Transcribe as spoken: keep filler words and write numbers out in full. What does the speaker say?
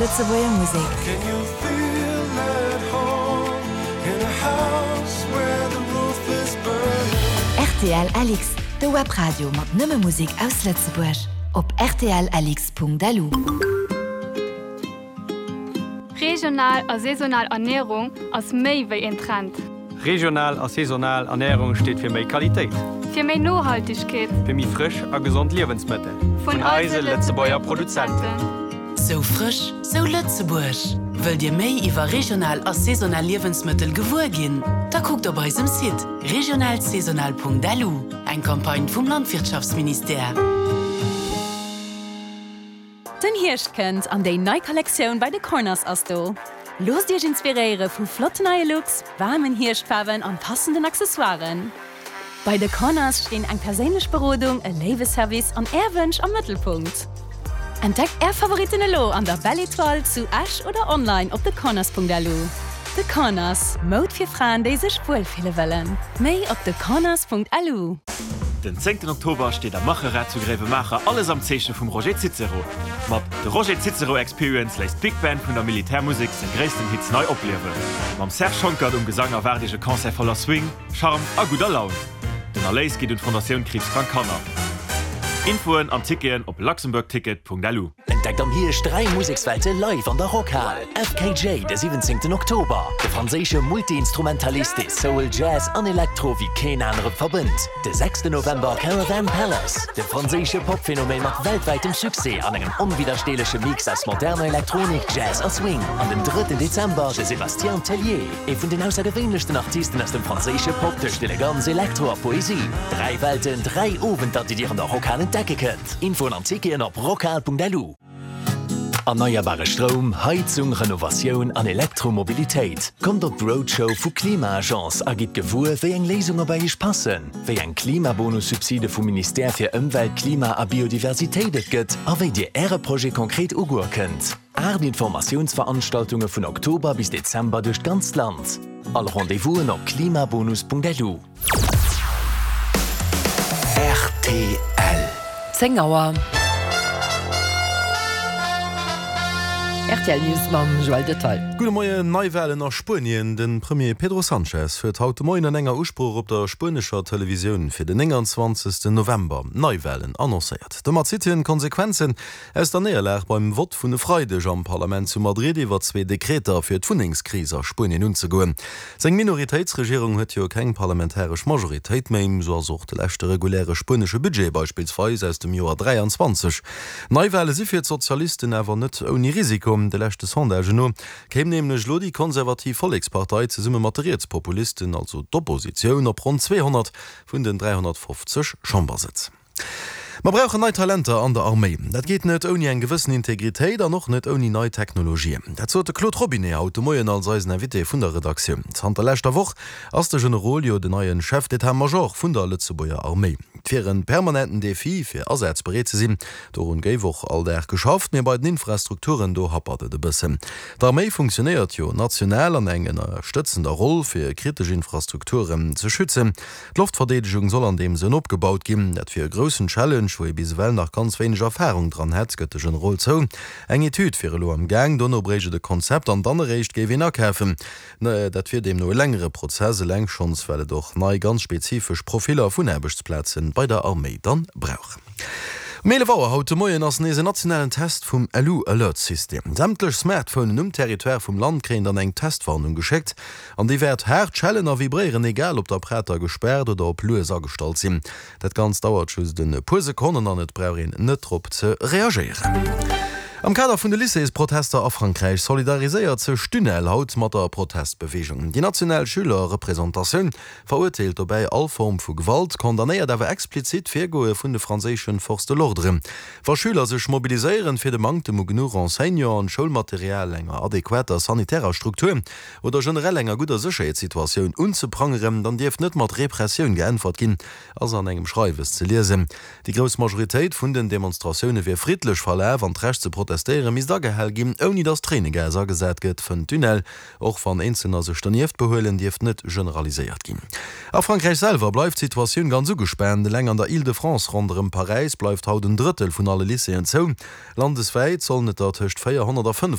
Lëtzebuerger Musek. Rtl LX, de Webradio mat nëmme Musek aus Lëtzebuerg. Op rtl-lx.lu. Regional a saisonal Ernierung ass méi wéi en Trend. Regional a saisonal Ernärung steet fir méi Qualitéit. Fir méi Nohaltegkeet. Fir méi frësch a gesond Liewensmëttel. Vun eise Lëtzebuerger Produzenten. Sou frësch, sou Lëtzebuerg! Wëllt Dir méi iwwer regional a saisonal Liewensmëttel gewuer ginn? Da kuckt op eisem Site regionalsaisonal.lu, eng Campagne vum Landwirtschaftsministère. Den Hierscht kënnt an déi nei Kollektioun bei The Corners ass do. Loosst Iech inspiréiere vu flotten neie Looks, waarmen Hierschtfaarwen an passenden Accessoiren. Bei The Corners stinn eng perséinlech Berodung, e léiwe Service an Är Wënsch am Mëttelpunkt. Entdeckt Är Favoritten elo an der Belle Etoile zu Esch oder online op thecorners.lu. The Corners, Moud fir Fraen, déi sech wuel fille wëllen. Méi op thecorners.lu. Den zéngten Oktober steet am Macherad zu Gréiwemaacher alles am Zeeche vum Roger Cicero. Mat The Roger Cicero Experience léisst d'Big Band vun der Militärmusek seng gréissten Hits nei opliewen. Mam Serge Schonckert um Gesang erwaart Iech e Concert voller Swing, Charme a gudder Laun. Den Erléis geet un d'Fondatioun Kriibskrank Kanner. Infoen an Ticketen op luxembourgticket.lu. Entdeckt am Hierscht dräi Musekswelte live an der Rockhal! FKJ de siwwenzéngten Oktober, de franséische Multi-Instrumentalist, dee Soul, Jazz an Elektro wéi keen anere verbënnt. De sechsten November Caravan Palace, de franséische Pop-Phänomen mat weltwäitem Succès an engem onwiddersteeleche Mix aus moderner Elektronik, Jazz a Swing. An den drëtten Dezember de Sébastien Tellier, ee vun den aussergewéinlechsten Artisten aus dem franséische Pop tëscht Eleganz, Elektro a Poesie. Dräi Welten, dräi Owenter, déi Dir an der Rockhal entdecke kënnt. Infoen an Ticketen op rockhal.lu. Erneierbare Stroum, Heizung, Renovatioun an Elektromobilitéit. Kommt op d'Roadshow vu Klima-Agence a gitt gewuer, wéi eng Léisunge bei Iech passen, wéi eng Klimabonussubside vum Ministère fir Ëmwelt, Klima a Biodiversitéit et gëtt a wéi Dir Äre Projet konkret ugoe kënnt. Aacht Informatiounsveranstaltunge vun Oktober bis Dezember duerch d'ganzt Land. All Rendez-vousen op klimabonus.lu. Rtl. Zéng Auer. Rtl News mam Joël Detail. Gudde Moien, Neiwalen a Spuenien, De Premier Pedro Sanchez huet haut de Moien an enger Usprooch op der spuenescher Televisioun fir den nénganzwanzegsten November Neiwalen annoncéiert. Domat zitt hien d'Konsequenzen aus der Néierlag beim Vott vun e Freideg am Parlament zu Madrid iwwer zwee Dekreter fir d'Wunnengskris a Spuenien unzegoen. Seng Minoritéitsregierung huet jo keng parlamentaresch Majoritéit méi. Sou ass och de leschte reguläre spuenesche Budget beispillsweis aus dem Joer dräianzwanzeg. Neiwale si fir d'Sozialisten awer net ouni Risiko. De leschte Sondagen no kéim nämlech elo déi konservativ Vollekspartei zesumme mat de Rietspopulisten, also d'Oppositioun, op ronn zweehonnert vun den dräihonnertfofzeg Chambersëtz. Mer brauchen nei Talenter an der Arméi. Dat geet net ouni eng gewëssen Integritéit an och net ouni nei Technologien. Dat sot de Claude Robinet haut de Moien als eisen Invité vun der Redaktioun. Zanter leschter Woch ass de Generol jo den neien Chef d'état-major vun der Lëtzebuerger Arméi. Et wier en permanenten Defi fir asazbereet ze sinn. Dorun géif och all Dag geschafft, mee bei den Infrastrukturen do happert et e bëssen. D'Arméi funktionéiert jo national an eng ënnerstëtzender Roll fir kritesch Infrastrukturen ze schützen. D'Loftverdeedegung soll an deem Sënn opgebaut ginn. Dat wier e groussen Challenge, wou ee bis ewell nach ganz wéineg Erfarung dran hätt, gëtt de Generol zou. Eng Etüd wier elo am Gaang, dono bréicht et e Konzept an dann eréischt géif een akafen. Dat wier deemno e längere Prozess, eleng schonns well et och nei, ganz spezifesch Profiller vun Aarbechtsplaze bei der Arméi dann brauch. Um eelef Auer haut de Moien ass nees en nationalen Test vum LU-Alert-System. Sämtlech Smartphonen um Territoire vum Land kréien dann eng Testwarnung geschéckt an déi wäert haart schellen a vibréieren, egal ob d'Apparater gespaart oder op lues agestallt sinn. Dat Ganzt dauert just e puer Sekonnen an et brauch een net drop ze reagéieren. Am Kader vun de Lycéesprotester a Frankräich solidariséiert sech d'UNEL haut mat der Protestbeweegung. Déi national Schülerrepresentatioun verurteelt dobäi all Form vu Gewalt, condamnéiert awer explizit d'Virgoe vun de franséische Forces de l'ordre. Wa Schüler sech mobiliséieren, fir de Manktem u genuch Enseignanten, Schoulmaterial, enger adequater sanitärer Struktur oder generell enger gudder Sécherheetssituatioun unzeprangeren, dann dierft net mat Repressioun geäntwert ginn, ass an engem Schreiwes ze liesen. Déi grouss Majoritéit vun den Demonstratioune wier friddlech verlaf an d'Recht ze protestéiere misst agehal ginn, ouni datt Tréinegas agesat gëtt, fënnt d'UNEL. Och wann Eenzelner sech donieft behuelen, dierft net generaliséiert ginn. A Frankräich selwer bleift d'Situatioun ganz ugespaant. Eleng an der Île-de-France ronderëm Paräis bleift haut en Drëttel vun alle Lycéeën zou. Landeswäit sollen et der tëscht véierhonnert a fënnefhonnert